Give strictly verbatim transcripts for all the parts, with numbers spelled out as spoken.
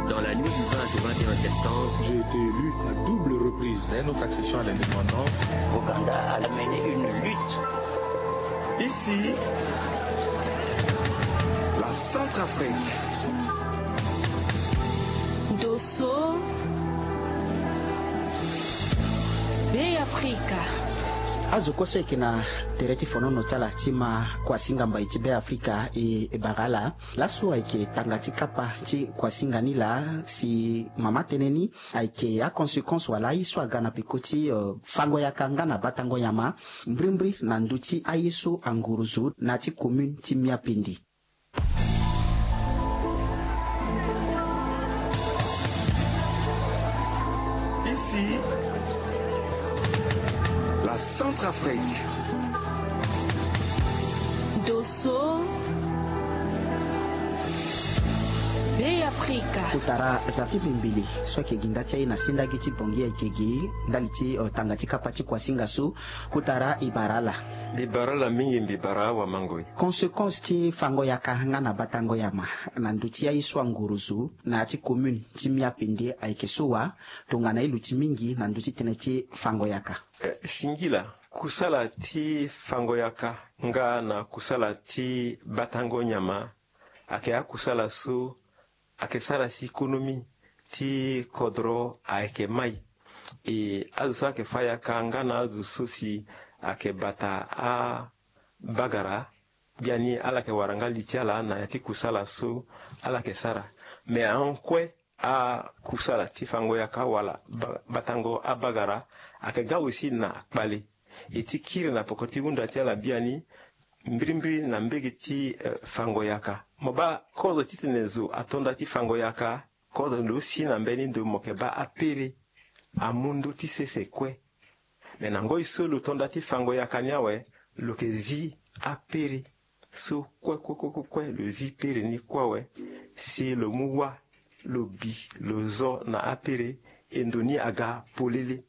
Dans la nuit du vingt au vingt et un septembre, j'ai été élu à double reprise. Dès notre accession à l'indépendance, Ouganda a mené une lutte. Ici, la Centrafrique. Dosso, Bêafrika. Azo kue so ayeke na tere ti fonono ti ala ti ma kuasinga mbai ti Bêafrika e bara ala. Laso ayeke tanga ti kapa ti kuasinga ni laa si mama tënë ni ayeke aconséquence wala aye so aga na peko ti, euh, fango yaka nga na batango nyama, mbrimbri na ndö ti aye so anguruzu na ya ti commune ti Miapende. Ici, la Centrafrique. Dosso, Bêafrika. Kotara Zafi Bimbili so ayeke gi nda ti aye na sendagi ti Bangui ayeke gi ndali ti, euh, tanga ti kapa ti kuasinga so. Kotara e bara ala. Mbi bara ala mingi, mbi bara awamangoi. Conséquence ti fango yaka nga na batango nyama na ndö ti aye so anguruzu na ya ti commune ti Miapende ayeke so wa? Tongana e luti mingi na ndö ti tënë ti fango yaka. Eh, singila, kusala ti fango yaka nga na kusala ti batango nyama ayeke akusala so ayeke sara si konomi ti kodro ayeke mai. E azo so ayeke fâ yaka nga na azo so si ayeke bata abagara, biani ala yeke wara nga li ti ala na ya ti kusala so ala yeke sara. Me ahon kue akusala ti fango yaka wala ba-, batango abagara ayeke ga aussi na kpale. E ti kiri na poko ti hunda ti ala biani, mbirimbiri na mbege ti, eh, fango yaka. Mo baa kozo titene zo ato nda ti fango yaka, kozo lo si na mbeni ndo mo yeke baa apere amu ndö ti sese kue. Me na ngoi so lo to nda ti fango yaka ni awe, lo yeke zi apere so kue kue kue kue kue, lo zi pere ni kue awe, si lo mu wâ, lo bi, lo zo na apere, e ndo ni aga polele.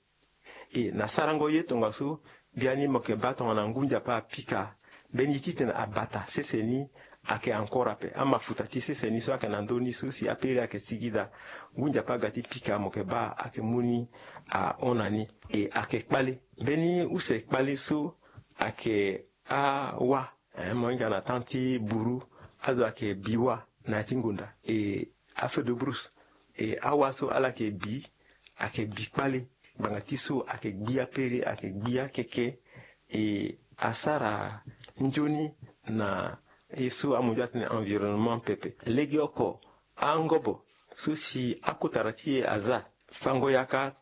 E na sarango ye tongaso, biani mo yeke baa tongana ngu nzapa apika, mbeni ye titene abata sese ni ayeke encore ape. Amafuta ti sese ni so ayeke na ndö ni so si apere ayeke sigi daa, ngu nzapa aga ti pika, mo yeke baa ayeke mu ni ahon na ni. E ayeke kpale. Mbeni use kpale so ayeke awâ. Eh, mo hinga na temps ti buru, azo ayeke bi wâ na ya ti ngonda. E afeu de brousse. E awâ so ala yeke bi, ayeke bi kpale. Ngbanga ti so ayeke gbi apere, ayeke gbi akeke. E asara nzoni na ye so amunzu atene environnement pepe. Legeoko angobo so si akotara ti e aza, fango yaka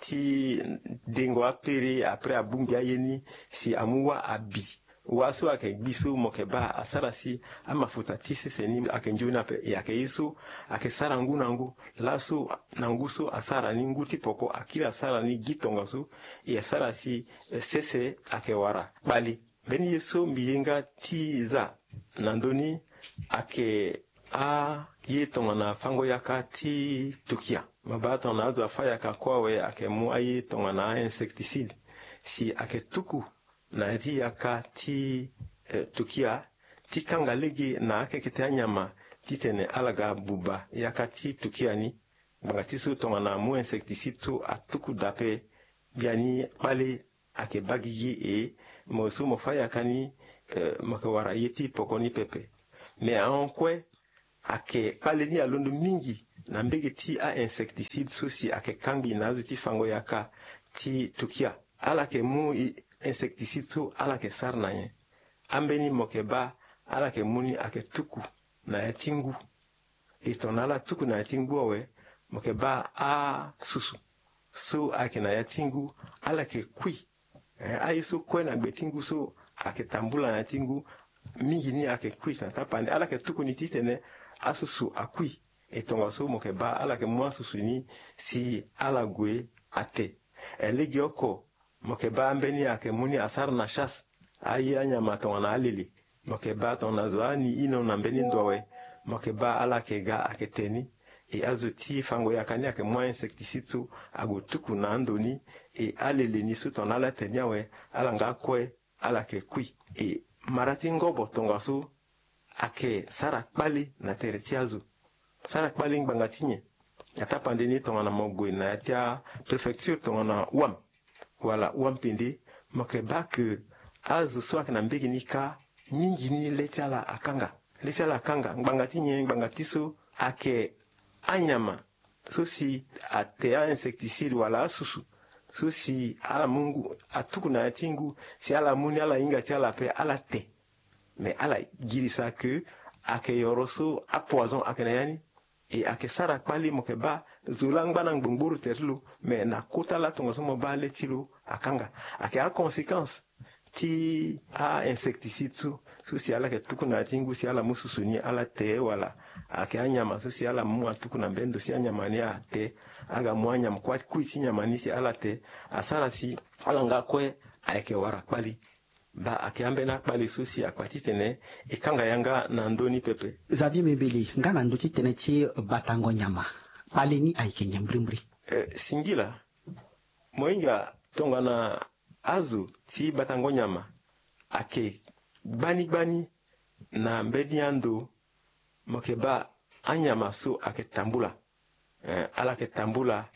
ti dengo apere, après abongbi aye ni si amu wâ abi. Wâ so ayeke gbi so mo yeke baa asara si amafuta ti sese ni ayeke nzoni ape. E ayeke ye so ayeke sara ngu na ngu. Laso na ngu so asara ni, ngu ti poko akiri asara ni gi tongaso. E asara si, eh, sese ayeke wara kpale. Mbeni ye so mbi ye nga ti za na ndö ni ayeke aye tongana fango yaka ti tukia. Mo baa tongana azo afâ yaka kue awe ayeke mu aye tongana a-insecticide si ayeke tuku na ya ti yaka ti, eh, tukia ti kanga lege na akeke ti anyama titene ala ga buba yaka ti tukia ni. Ngbanga ti so tongana amu insecticide so atuku daa ape, biani kpale ayeke baa gigi. E mo so mo fâ yaka ni, eh, mo yeke wara ye ti poko ni pepe. Me ahon kue ayeke kpale ni alondo mingi na mbege ti a-insecticide so si ayeke kangbi na azo ti fango yaka ti tukia. Ala yeke mu i-, insecticide so ala yeke sara na nyen? Ambeni mo yeke baa ala yeke mu ni ayeke tuku na ya ti ngu. E tongana ala tuku na ya ti ngu awe, mo yeke baa asusu so ayeke na ya ti ngu, ala yeke kui. Eh, aye so kue na gbe ti ngu so ayeke tambula na ya ti ngu, mingi ni ayeke kui na tapande. Ala yeke tuku ni titene asusu akui. E tongaso mo yeke baa ala yeke mu asusu ni si ala gue ate. Eh, legeoko mo yeke baa ambeni ayeke mu ni asara na chasse. Aye anyama tongana alele. Mo yeke baa tongana zo ani ino na mbeni ndo awe, mo yeke baa ala yeke ga ayeke te ni. E azo ti fango yaka ni ayeke mu a-insecticide so ague tuku na ando ni. E alele ni so tongana ala te ni awe, ala nga kue, ala yeke kui. E mara ti ngobo tongaso ayeke sara kpale na tere ti azo. Sara kpali ngbanga ti nyen? Atapande ni tongana mo gue na ya ti apréfecture tongana wam wala wampende, mo yeke baa ke azo so ayeke na mbege ni kâ mingi ni le ti ala akanga. Le ti ala akanga ngbanga ti nyen? Ngbanga ti so ayeke anyama so si ate a-insecticide wala asusu so si ala mu ngu atuku na ya ti ngu si ala mu ni ala hinga ti ala ape ala te. Mais ala girisa ke ayeke yoro so apoison ayeke na ya ni. E ayeke sara kpali mo yeke baa zo laa angba na ngbongboro tere ti lo. Mais na kota laa tongaso mo baa le ti lo akanga. Ayeke aconséquence ti a-insecticide so so si ala yeke tuku na ya ti ngu si ala mu susu ni ala te wala ayeke anyama so si ala mu atuku na mbeni ndo si anyama ni ate. Aga mu anyama kuâ kui ti nyama ni si ala te. Asara si ala nga kue ayeke wara kpali. Baa ayeke ambeni akpali so si akpa titene e kanga yanga na ndö ni pepe. Xavier Mimbili, nga na ndö ti tënë ti batango nyama, kpali ni ayeke nyen mbrimbri? Eh, singila. Mo hinga tongana azo ti batango nyama ayeke gbani gbani na mbeni ando. Mo yeke baa anyama so ayeke tambula. Eh, ala yeke tambula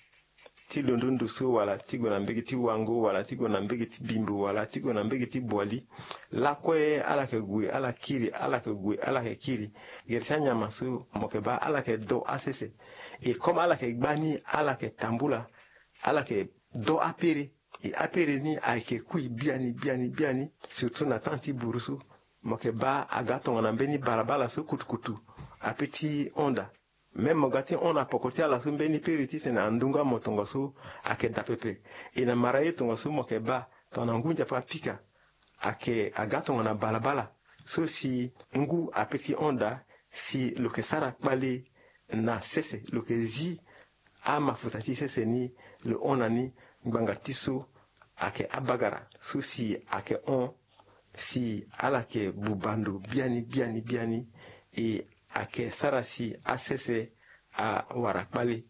ti londo ndo so wala ti gue na mbege ti wango wala ti gue na mbege ti bimbo wala ti gue na mbege ti boili. Lakue ala yeke gue ala kiri, ala yeke gue ala yeke kiri. Gere ti anyama so mo yeke baa ala yeke do asese. E comme ala yeke gbani ala yeke tambula, ala yeke do apere. E apere ni ayeke kui biani biani biani, surtout na temps ti buru so. Mo yeke baa aga tongana mbeni balabala so kutukutu ape ti hon daa. Même mo ga ti hon na poko ti ala so mbeni pere titene andu nga mo tongaso ayeke daa pepe. E na mara ye tongaso mo yeke baa tongana ngu nzapa apika ayeke aga tongana balabala so si ngu ape ti hon daa, si lo yeke sara kpale na sese, lo yeke zi amafuta ti sese ni, lo hon na ni. Ngbanga ti so ayeke abagara so si ayeke hon si ala yeke buba ndo biani biani biani. E ayeke sara si asese awara kpale.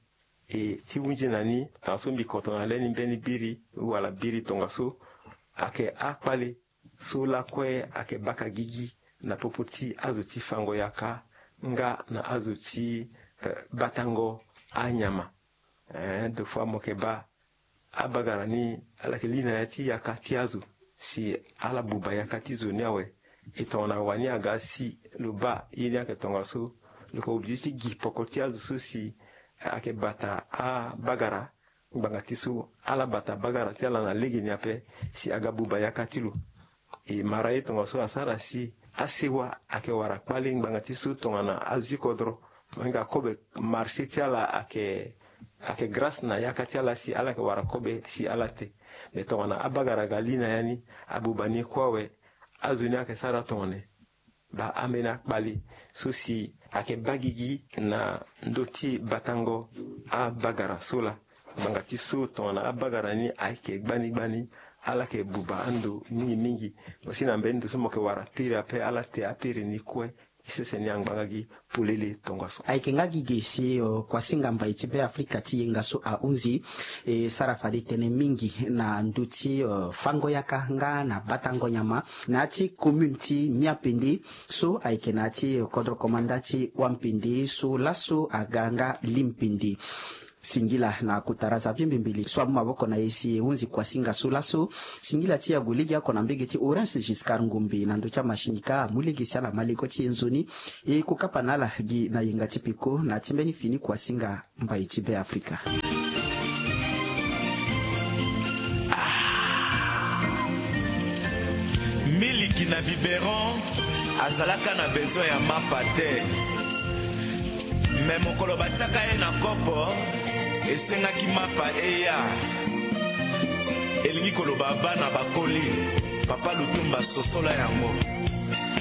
E ti hunzi na ni, tongaso mbi koto na le ni mbeni biri wala biri tongaso, ayeke akpale so lakue ayeke baka gigi na popo ti azo ti fango yaka nga na azo ti, eh, batango anyama. Eh, deux fois mo yeke baa abagara ni ala yeke li na ya ti yaka ti azo si ala buba yaka ti zo ni awe. E tongana wani aga si lo baa ye ni ayeke tongaso, lo yeke obligé ti gi poko ti azo so si ayeke bata abagara. Ngbanga ti so ala bata bagara ti ala na legeni ape si aga buba yaka ti lo. E mara ye tongaso asara si asewa ayeke wara kpale ngbanga ti so tongana azo ti kodro. Mo hinga kobe marché ti ala ayeke, ayeke grâce na yaka ti ala si ala yeke wara kobe si ala te. Me tongana abagara aga li na ya ni, abuba ni kue awe, azo ni ayeke sara tongana nyen? Baa ambeni akpali so si ayeke baa gigi na ndö ti batango abagara so laa. Ngbanga ti so tongana abagara ni ayeke gbani gbani, ala yeke buba ando mingi mingi. Mo si na mbeni ndo so mo yeke wara piri ape ala te apiri ni kue. E sese ni angba nga gi polele tongaso. Ayeke nga gi ge si, eh, kuasinga mbai ti Be Afrika ti yenga so ahunzi, e sara fade tënë mingi na ndö ti, eh, fango yaka nga na batango nyama na ya ti commune ti Miapende so ayeke na ya ti kodro komanda ti Wampende so laso aga nga Limpende. Singila na kotara Xavier Mbembele so amu maboko na e si e hunzi kuasinga so laso. Singila ti e ague legeoko na mbege ti Orange Giscard Ngombe na ndö ti amashinika amu lege si ala ma lego ti e nzoni. E kokapa na ala gi na yenga ti peko na ya ti mbeni fini kuasinga mbai ti Be Afrika. Miliki na biberon azalaka na besoin ya mapa te. Me mokolo batiaka ye na kopo, esengaki mapa eya. Elingi koloba bana bakoli, Papa Lutumba sosola yango.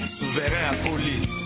Souverain akoli.